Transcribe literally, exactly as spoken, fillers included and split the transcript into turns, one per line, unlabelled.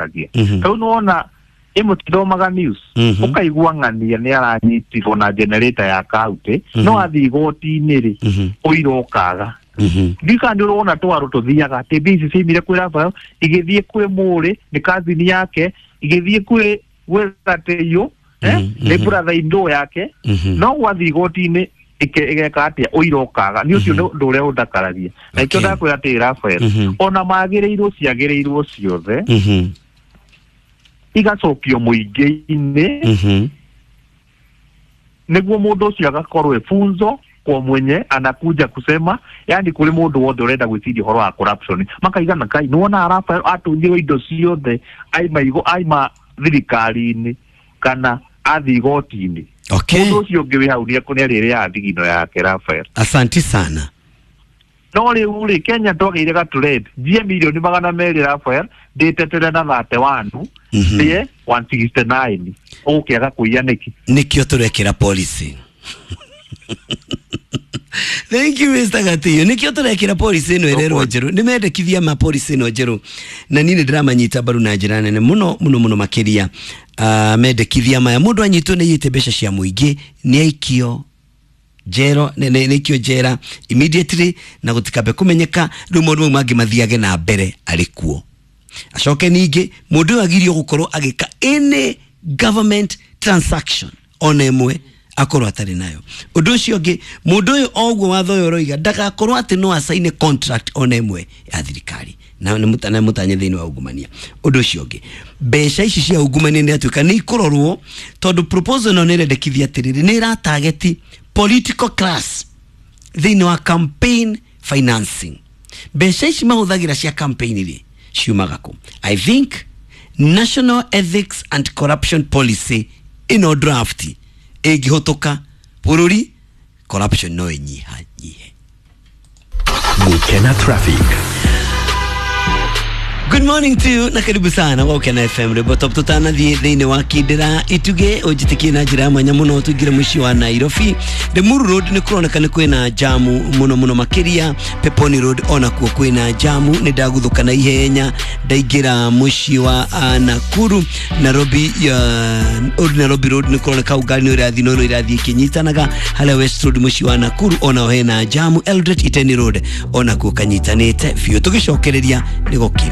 Ũndakaragia rĩu nĩwona ĩmwe tithomaga news,
Mhm.
ũkaigua ng'ania nĩ aranyitirwo na generator ya kaunti, no athiĩ igoti-inĩ rĩ,
Mhm.
ũira ũkaga.
Mhm.
Ndika nĩ ũrona twarũ tũthiaga atĩ mbia ici ciaimire kwĩ Rafael igĩthiĩ kwĩ Mũrĩ nĩ kazini yake, igĩthiĩ kwĩ gwĩ Gatĩiyũ, eh,
Mhm,
nĩ
mhm.
brother in law yake.
Mhm.
No gwathiĩ igoti-inĩ ĩke- ĩgeka atĩa? Ũira ũkaga. Nĩ ũcio nĩ ũndũ ũrĩa ũndakaragia na ikĩo
Okay.
ndakwĩra atĩ Rafael,
Mhm.
ona magĩrĩirwo ciagĩrĩirwo ciothe
Mhm.
igacokio mũingĩ-inĩ,
Mhm.
nĩguo mũndũ ũcio agakorwo e funzo kwa mwenye anakuja kusema, yani kũrĩ mũndũ wothe ũrenda gwĩciria ũhoro wa corruption, makaigana kai nĩwona Rafael atunyirwo indo ciothe aima igo aima thirikari-inĩ kana athiĩ igoti-inĩ.
Okay.
Mũndũ ũcio ũngĩ wĩ hau nĩ arĩrĩaga thigino yake, Rafael.
Asanti sana.
No rĩu rĩ, Kenya twagĩire gatured njie mirioni magana merĩ, Rafael, ndĩtetere na thate wanu,
Mhm.
ndĩe one sixty-nine, ũgũkĩaga kũiya nĩkĩ?
Nikio turekira policy. Thank you, Mister Gatiyo. Nikio turekira policy ĩno ĩrerwo njerũ. Nĩ mendekithia ma policy ĩno njerũ na niĩ nĩ ndĩramanyita mbaru na njĩra nene mũno mũno mũno makĩria. uh, mendekithia maya, mũndũ anyitwo nĩ aiyĩte mbeca cia mũingĩ nĩ aikio njero, nĩ nĩ- nĩ aikio njera immediately na gũtikambe kũmenyeka. Rĩu maũndũ mau mangĩ mathiage na mbere arĩ kuo. Acoke ningĩ mũndũ ũyũ agirio gũkorwo agĩka any government transaction ona ĩmwe akorwo atarĩ nayo. Ũndũ ũcio ũngĩ, mũndũ ũyũ oguo watho ũyũ ũroiga ndagakorwo atĩ no acaine contract ona ĩmwe ya thirikari na nĩ mũta- na mũtanye thĩinĩ wa ungumania. Ũndũ ũcio ũngĩ, mbeca ici cia ungumania nĩ atuĩka nĩ ikũrorwo, tondũ proposal ĩno nĩ ĩrendekithia atĩrĩrĩ, nĩ ĩratageti political class thĩinĩ wa campaign financing. Mbeca ici mahũthagĩra cia campaign rĩ, ciumaga kũ? I think National Ethics and Corruption Policy ĩno draft ĩngĩhũtũka bũrũri, corruption no ĩnyihanyihe.
Gukena Traffic.
Good morning to you na karibu sana wa Ukena F M rwĩmbo top. Tũtanathiĩ thĩinĩ wa Kindĩra Itugĩ, ũnjĩtĩkie na njĩra ya mwanya mũno tũingĩre mũciĩ wa Nairobi. Limuru Road nĩ kũroneka nĩ kwĩna jamu mũno mũno makĩria. Peponi Road onakuo kwĩna jamu. Nĩ ndaguthũka na ihenya ndaingĩra mũciĩ wa uh, Nakuru. Nairobi uh, Old Nairobi Road nĩ kũroneka hau ngari nĩ ĩrathiĩ no ĩrathiĩ ĩkĩnyitanaga. Harĩa West Road mũciĩ wa Nakuru onao hena jamu. Eldoret Iten Road onakuo kanyitanĩte biũ. Tũgĩcokereria nĩ gũkindĩra.